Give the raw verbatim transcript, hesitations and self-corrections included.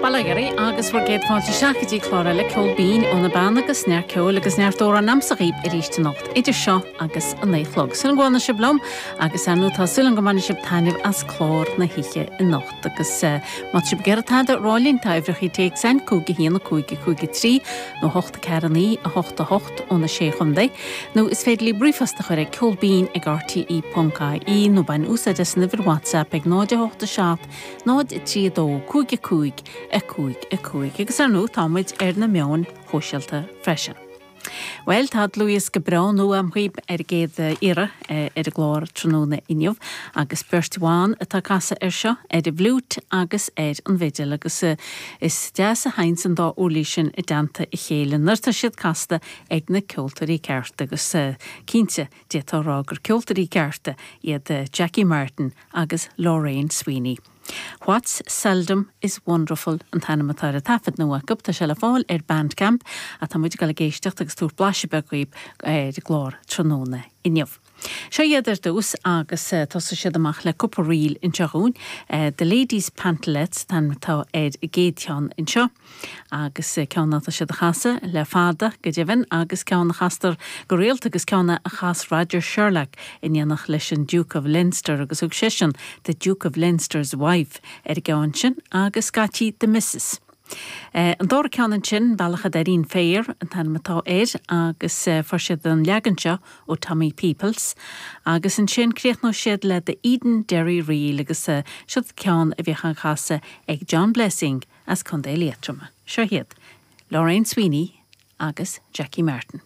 Bail ó Dhia oraibh agus bhur gcéad fáilte isteach go dtí clár eile Ceol Binn ó na Beanna agus neart ceoil agus neart amhrán a'msa dhaoibh arís anocht idir seo agus a naoi a chlog. Súil go bhfanfaidh sibh liom agus ar ndóigh tá súil go mbainfidh sibh taitneamh as clár na hoíche anocht agus uh, má tá sibh ag iarraidh tada a rá linn tá uimhreacha téacs againn cúig a haon a cúig a cúig a trí nó hocht a ceathair a naoi a hocht a hocht ó na sé chontae nó is féidir libh ríomhphost a chur ag ceolbinn ag rte ponc ie nó bain úsáid as an uimhir WhatsApp ag náid a hocht a seacht náid a trí a dó cúig a cúig a cúig a cúig agus ar ndóigh táimid ar na meáin shóisialta freisin. Well tá dlúthdhiosca breá nua agam dhaoibh ar an gcéad iarraidh ar an gclár tráthnóna inniu agus beirt bhan atá ag casadh ar seo ar an bhfliúit agus ar an bhfidil agus is deas a théann an dá uirlis sin i dteannta a chéile nuair atá siad casta ag na ceoltóirí cearta agus cinnte d'fhéadfá a rá gur ceoltóirí cearta iad Jackie Martin agus Lorraine Sweeney. What's Seldom is Wonderful an t-ainm atá ar an taifead nua acu tá sé le fáil ar Bandcamp atá muid ag éisteacht agus tabhairt blaiseadh beag dhaoibh ar an gclár tráthnóna inniu. Seo iad ar dtús agus uh, tosóidh siad amach le cúpla ríl anseo dhúinn. Uh, The Ladies Pantalettes an t-ainm atá ar an gcéad cheann anseo agus uh, ceann atá siad a chasadh le fada go deimhin agus ceann a chastar go rialta agus ceann a chas Roger Sherlock in éineacht leis an Duke of Leinster agus thug seisean the Duke of Leinster's wife ar an gceann sin agus scaití the Missus. Uh, an dara ceann ansin Bealach a' Doirín Féir an t-ainm atá air agus uh, fuair siad an leagan seo ó Tommy Peoples, agus ansin críochnóidh siad le the Edenderry Reel agus uh, seo ceann a bhíodh á chasadh ag John Blessing as Contae Liatroma. Seo iad, Lorraine Sweeney agus Jackie Martin.